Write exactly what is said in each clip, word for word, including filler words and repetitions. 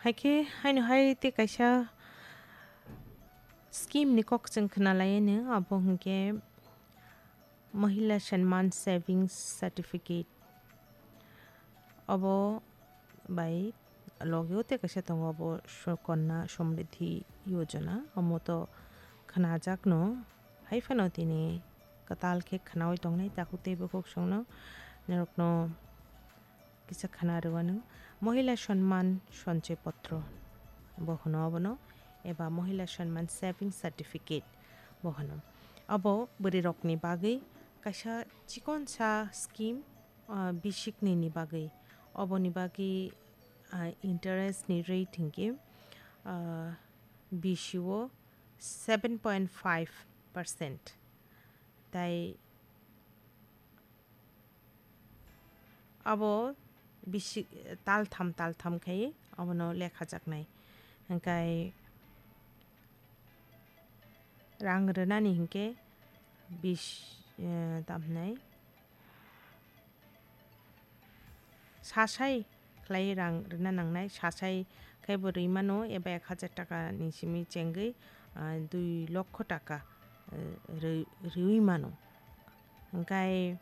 Hai khe haino hai tei kaisa scheme ni kok chwng khna lai anw, abo hwnkhe Mahila Sanman Savings Certificate. Obo bai logi o tei kaisa tongo, obo Sukanna Samriddhi Yojana, omo to khnajakno, hai phano tini kwtal khe khnaui tongnai takhuk tei bukhuk songno norokno kisa khna rwano. Mahila Sanman Sanchoy Potro bo hwno obono, eba Mahila Sanman Saving Certificate bo hwno. Abo bwrwi rokni bagwi kaisa chikonsa scheme, ah, bisikni ni bagwi. Oboni bagwi, ah, interest ni rate hinkhe, ah, bisi o seven point five percent. Tai abo bisi taltham taltham khai abono lekhajaknai. Hingkai rang rwnani hinkhe bis, eh, tamhinai sasai khlai rang rwna nangnai, sasai khai bo rwi mano, eba ek hajar taka ni simi chengwi, ah, dui lokho taka, eh, rwi, rwi mano. Hingkai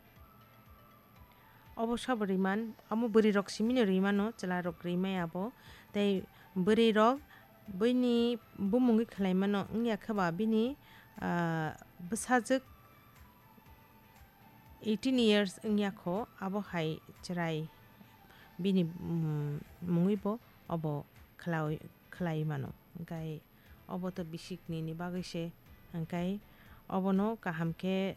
obo sabo rwi man, omo bwrwi rok simino rwi mano, chwla rok rwi maya bo. Tei bwrwi rok buini bumungwi khlai mano, wngya khe ba bini, ah, bwsajwk eighteen years wngya kho, abo hai chwrai bini, mm, mungwi bo obo khlai, khlai mano. Hingkai obo to bisikni ni bagwi se, hingkai obono kaham khe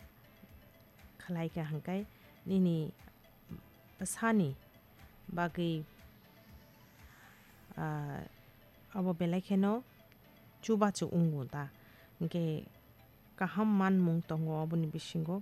khlai kha, hingkai nini bwsani bagwi, ah, abo belai kheno chubachu wngo da, hingke kaham manmung tongo oboni bisingo.